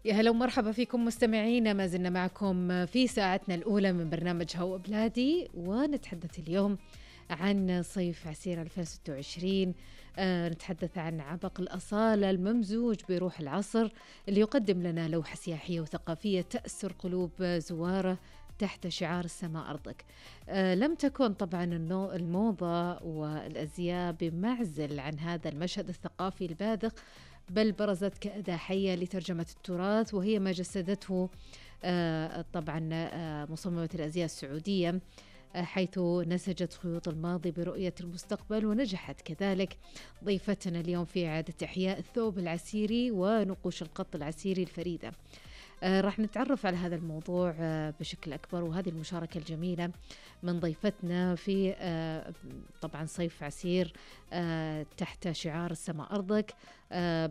يا هلا ومرحبا فيكم مستمعينا، ما زلنا معكم في ساعتنا الأولى من برنامج هوا بلادي، ونتحدث اليوم عن صيف عسير 2026. نتحدث عن عبق الأصالة الممزوج بروح العصر اللي يقدم لنا لوحة سياحية وثقافية تأسر قلوب زواره تحت شعار السماء أرضك. لم تكن طبعا الموضة والأزياء بمعزل عن هذا المشهد الثقافي الباذخ، بل برزت كأداة حية لترجمة التراث، وهي ما جسدته طبعا مصممة الأزياء السعودية، حيث نسجت خيوط الماضي برؤية المستقبل، ونجحت كذلك ضيفتنا اليوم في إعادة إحياء الثوب العسيري ونقوش القط العسيري الفريدة. راح نتعرف على هذا الموضوع بشكل أكبر، وهذه المشاركة الجميلة من ضيفتنا في طبعا صيف عسير تحت شعار السماء أرضك.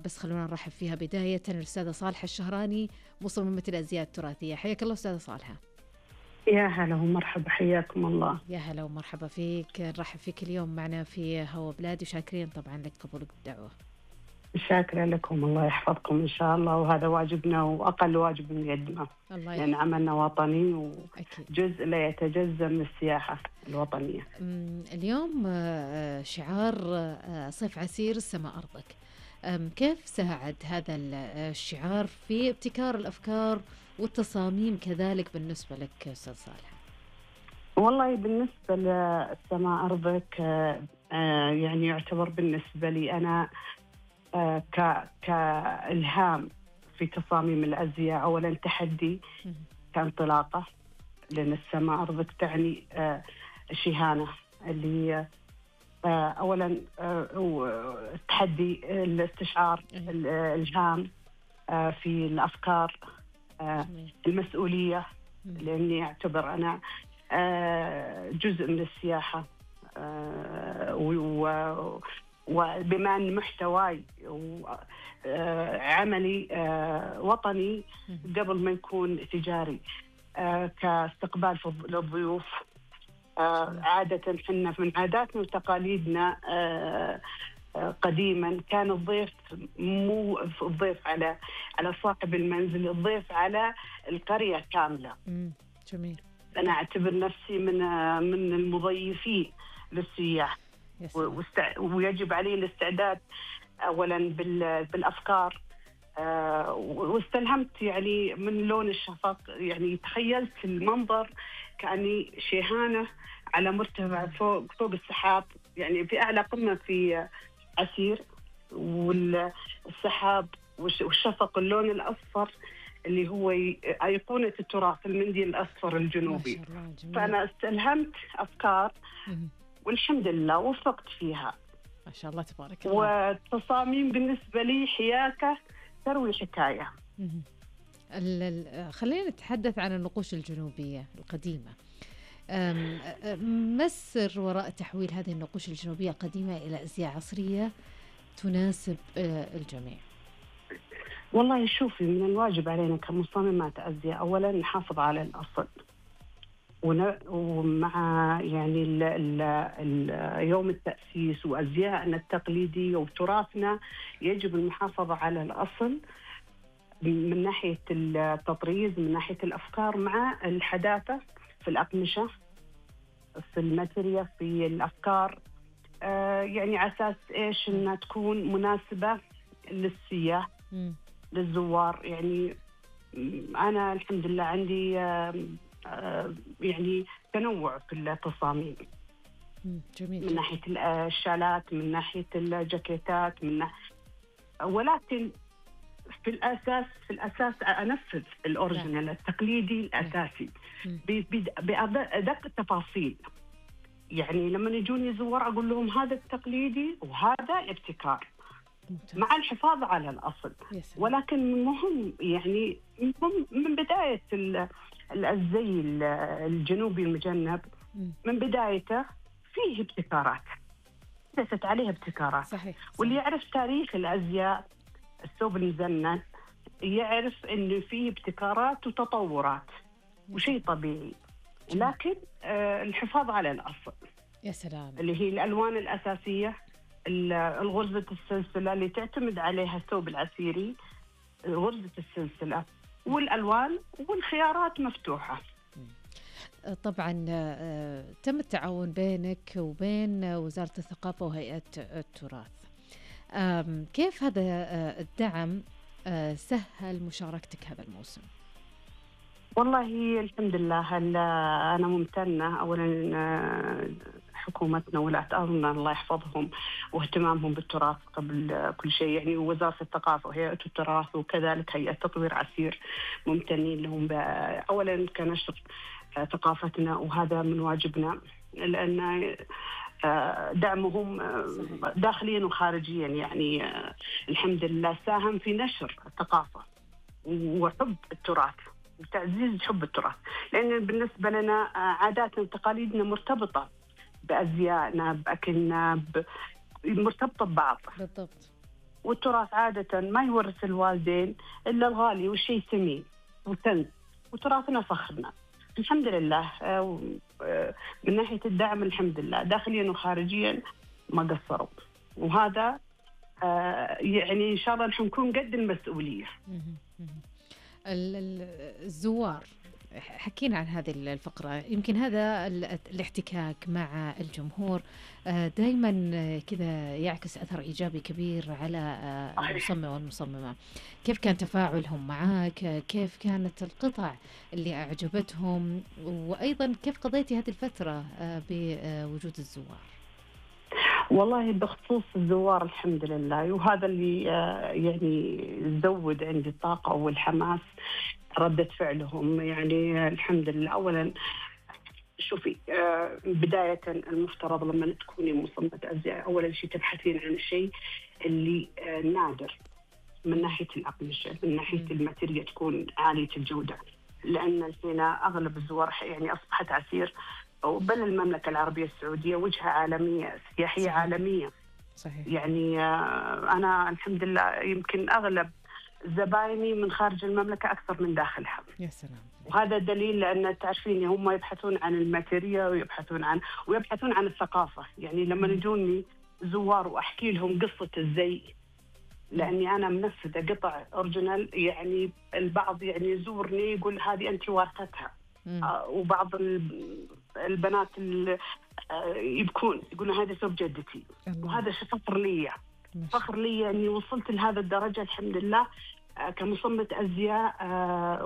بس خلونا نرحب فيها بداية الأستاذة صالحة الشهراني، مصممة الأزياء التراثية. حياك الله أستاذة صالحة. يا هلا ومرحبا، حياكم الله. يا هلا ومرحبا فيك، نرحب فيك اليوم معنا في هوا بلادي، وشاكرين طبعا لك قبولك بالدعوة. شاكرة لكم، الله يحفظكم إن شاء الله، وهذا واجبنا وأقل واجب نقدمه، لأن عملنا وطني وجزء لا يتجزأ من السياحة الوطنية. اليوم شعار صيف عسير السماء أرضك، كيف ساعد هذا الشعار في ابتكار الأفكار والتصاميم كذلك بالنسبة لك أستاذ صالح؟ والله بالنسبة للسماء أرضك يعني يعتبر بالنسبة لي أنا كإلهام في تصاميم الأزياء. أولا تحدي كانطلاقة، لأن السماء أرضك تعني شهانة، اللي أولا تحدي الاستشعار الإلهام في الأفكار، المسؤولية، لأني أعتبر أنا جزء من السياحة، وبما أن محتواي وعملي وطني قبل ما يكون تجاري، كاستقبال للضيوف. عادة حنا من عاداتنا وتقاليدنا قديما كان الضيف مو الضيف على صاحب المنزل، الضيف على القرية كاملة. جميل. أنا أعتبر نفسي من المضيفين للسياح، ويجب علي الاستعداد أولا بالأفكار. واستلهمت يعني من لون الشفق، يعني تخيلت المنظر كأني شيهانة على مرتفع فوق السحاب، يعني في أعلى قمة في عسير، والسحاب والشفق اللون الأصفر اللي هو أيقونة التراث، المنديل الأصفر الجنوبي. فأنا استلهمت أفكار والحمد لله وفقت فيها ما شاء الله تبارك الله. والتصاميم بالنسبة لي حياكة تروي حكاية. خلينا نتحدث عن النقوش الجنوبية القديمة. ما السر وراء تحويل هذه النقوش الجنوبية القديمة إلى أزياء عصرية تناسب الجميع؟ والله شوفي، من الواجب علينا كمصممات أزياء أولا نحافظ على الأصل، ومع يعني يوم التأسيس وأزيائنا التقليدية وتراثنا يجب المحافظة على الأصل من ناحية التطريز، من ناحية الأفكار، مع الحداثة في الأقمشة، في الماتيريا، في الأفكار، يعني على أساس إيش إنها تكون مناسبة للسياح للزوار. يعني أنا الحمد لله عندي يعني تنوع في التصاميم. جميل. من ناحية الشالات، من ناحية الجاكيتات، ولكن في الأساس أنفذ الأوريجينال التقليدي الأساسي بأدق التفاصيل. يعني لما يجوني زوار أقول لهم هذا التقليدي وهذا ابتكار، مع الحفاظ على الأصل. ولكن مهم يعني من بداية الزي الجنوبي المجنب، من بدايته فيه ابتكارات، ليست عليه ابتكارات. صحيح. واللي يعرف تاريخ الأزياء، الثوب المزنن، يعرف إنه فيه ابتكارات وتطورات، وشيء طبيعي. لكن الحفاظ على الأصل. يا سلام. اللي هي الألوان الأساسية، الغرزة السلسلة اللي تعتمد عليها الثوب العسيري، غرزة السلسلة والألوان والخيارات مفتوحة. طبعا تم التعاون بينك وبين وزارة الثقافة وهيئة التراث. كيف هذا الدعم سهل مشاركتك هذا الموسم؟ والله الحمد لله أنا ممتنة أولا حكومتنا ولاة أمرنا الله يحفظهم واهتمامهم بالتراث قبل كل شيء، يعني وزارة الثقافة وهيئة التراث وكذلك هيئة تطوير عسير ممتنين لهم أولا كنشر ثقافتنا، وهذا من واجبنا لأن دعمهم داخليا وخارجيا يعني الحمد لله ساهم في نشر الثقافة وحب التراث وتعزيز حب التراث، لأن بالنسبة لنا عاداتنا وتقاليدنا مرتبطة بأزيائنا بأكلنا مرتبطة ببعض بالضبط. والتراث عادة ما يورث الوالدين إلا الغالي والشيء ثمين وتنس، وتراثنا فخرنا الحمد لله. من ناحية الدعم الحمد لله داخليا وخارجيا ما قصروا، وهذا يعني إن شاء الله نحن نكون قد المسؤولية. الزوار حكينا عن هذه الفقرة، يمكن هذا الاحتكاك مع الجمهور دائما كذا يعكس أثر إيجابي كبير على المصمم والمصممة. كيف كان تفاعلهم معك؟ كيف كانت القطع اللي أعجبتهم؟ وأيضا كيف قضيتي هذه الفترة بوجود الزوار؟ والله بخصوص الزوار الحمد لله، وهذا اللي يعني زود عندي الطاقة والحماس ردة فعلهم، يعني الحمد لله. أولا شوفي بداية المفترض لما تكوني مصممة أزياء أولا شيء تبحثين عن الشيء اللي نادر من ناحية الأقمشة، من ناحية الماتيريال تكون عالية الجودة، لأن الحين أغلب الزوار يعني أصبحت عسير بل المملكة العربية السعودية وجهة عالمية سياحية صحيح. عالمية صحيح. يعني أنا الحمد لله يمكن أغلب زبايني من خارج المملكة أكثر من داخلها. يا سلام. وهذا دليل لأن تعرفين هم يبحثون عن الماتيريال ويبحثون عن الثقافة. يعني لما يجوني زوار وأحكي لهم قصة الزي، لأني أنا منفذة قطع أوريجينال، يعني البعض يعني يزورني يقول هذه أنت وارثتها، وبعض البنات يبكون يقولون هذا ثوب جدتي، وهذا فخر لي أني وصلت لهذا الدرجة الحمد لله كمصممة أزياء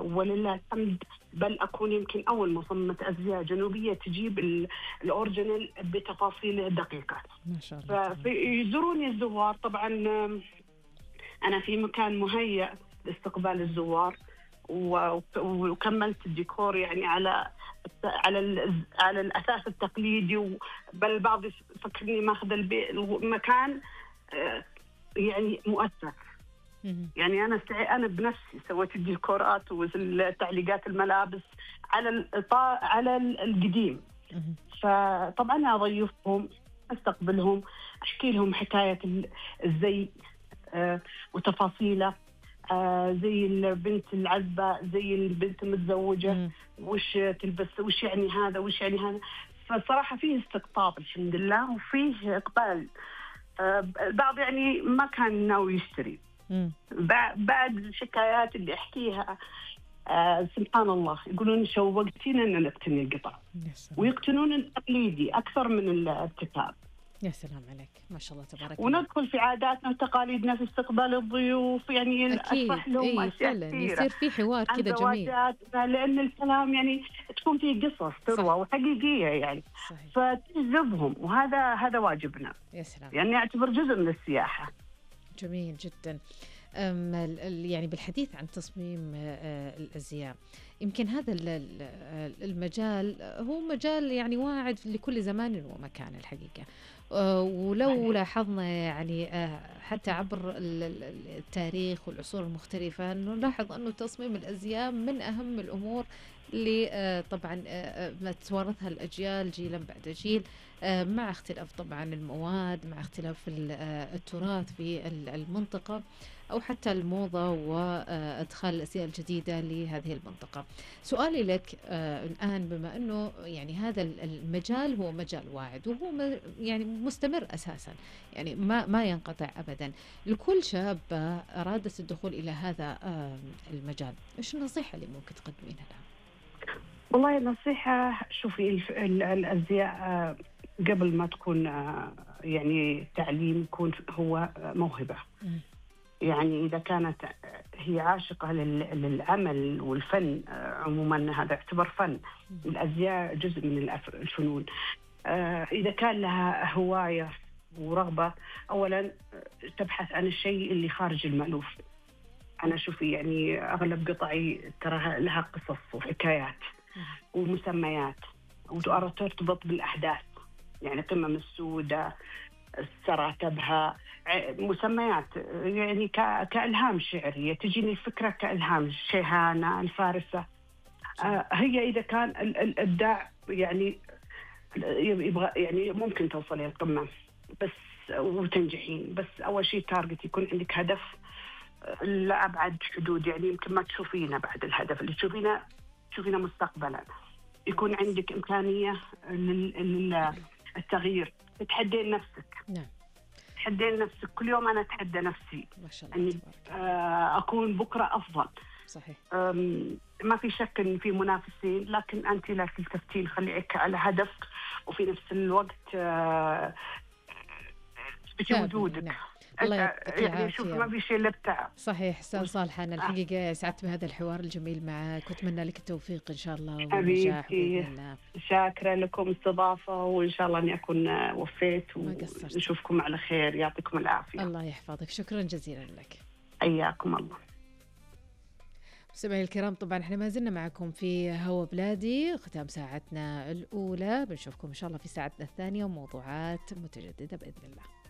ولله الحمد، بل أكون يمكن أول مصممة أزياء جنوبية تجيب الأوريجينال بتفاصيله الدقيقة. ما شاء الله. فيزوروني الزوار، طبعا أنا في مكان مهيأ لاستقبال الزوار، وكملت الديكور يعني على الأساس التقليدي، بل البعض يفكرني ماخذ المكان يعني مؤثر. يعني أنا بنفسي سويت الديكورات والتعليقات الملابس على القديم. فطبعا أضيفهم أستقبلهم أحكي لهم حكاية الزي وتفاصيله، زي البنت العزبة زي البنت المتزوجة وش تلبس، وش يعني هذا وش يعني هذا. فصراحة فيه استقطاب الحمد لله وفيه إقبال. البعض يعني ما كان ناوي يشتري، بعد الشكايات اللي أحكيها سبحان الله يقولون شوقتينا أن نقتني القطع، ويقتنون التقليدي أكثر من الابتكار. يا سلام عليك، ما شاء الله تبارك الله. وندخل في عاداتنا وتقاليدنا في استقبال الضيوف، يعني أشرح لهم أشياء كثيرة، يصير في حوار كذا جميل، لأن الكلام يعني تكون فيه قصص تروى وحقيقية يعني صحيح. فتجذبهم، وهذا واجبنا. يا سلام. يعني أعتبر جزء من السياحة. جميل جدا. يعني بالحديث عن تصميم الأزياء، يمكن هذا المجال هو مجال يعني واعد لكل زمان ومكان الحقيقة. ولو لاحظنا يعني حتى عبر التاريخ والعصور المختلفة نلاحظ أنه تصميم الأزياء من أهم الأمور اللي طبعا ما تتوارثها الأجيال جيلا بعد جيل مع اختلاف طبعا المواد، مع اختلاف التراث في المنطقة، أو حتى الموضة وإدخال الأشياء الجديدة لهذه المنطقة. سؤالي لك الآن، بما أنه يعني هذا المجال هو مجال واعد وهو يعني مستمر أساسا، يعني ما ينقطع أبدا، لكل شابة أرادت الدخول إلى هذا المجال، إيش النصيحة اللي ممكن تقدمينها لها؟ والله النصيحة، شوفي الأزياء قبل ما تكون يعني تعليم، يكون هو موهبة. يعني إذا كانت هي عاشقة للعمل والفن عموما، هذا يعتبر فن. الأزياء جزء من الفنون. إذا كان لها هواية ورغبة، أولا تبحث عن الشيء اللي خارج المألوف. أنا شوفي يعني أغلب قطعي ترى لها قصص وحكايات ومسميات وترتبط بالأحداث، يعني قمم السوداء، السراتبها، مسميات يعني كإلهام شعري، تجيني الفكرة كإلهام. شيهانة، الفارسة. هي إذا كان الإبداع يعني يبغى، يعني ممكن توصلي القمة بس وتنجحين، بس أول شيء تارجت، يكون عندك هدف لأبعد حدود. يعني يمكن ما تشوفينه بعد الهدف اللي تشوفينه مستقبلا. يكون عندك إمكانية للتغيير، تتحدين نفسك. نعم، تحدين نفسك كل يوم. أنا أتحدى نفسي ما شاء الله، أني أكون بكرة أفضل. صحيح. ما في شك إن في منافسين، لكن أنت لا تلتفتين، خليك على هدف، وفي نفس الوقت تثبتي وجودك. نعم. الله يعطيك يعني شوف، ما في شيء إلا التعب. صحيح. أستاذ صالحة، أنا الحقيقة سعدت بهذا الحوار الجميل معك، وأتمنى لك التوفيق إن شاء الله والنجاح بإذن الله. شاكرة لكم الاستضافة، وإن شاء الله أني أكون وفيت، ونشوفكم على خير. يعطيكم العافية. الله يحفظك، شكرا جزيلا لك. حياكم الله. مستمعي الكرام، طبعا احنا ما زلنا معكم في هوا بلادي، ختام ساعتنا الأولى، بنشوفكم إن شاء الله في ساعتنا الثانية وموضوعات متجددة بإذن الله.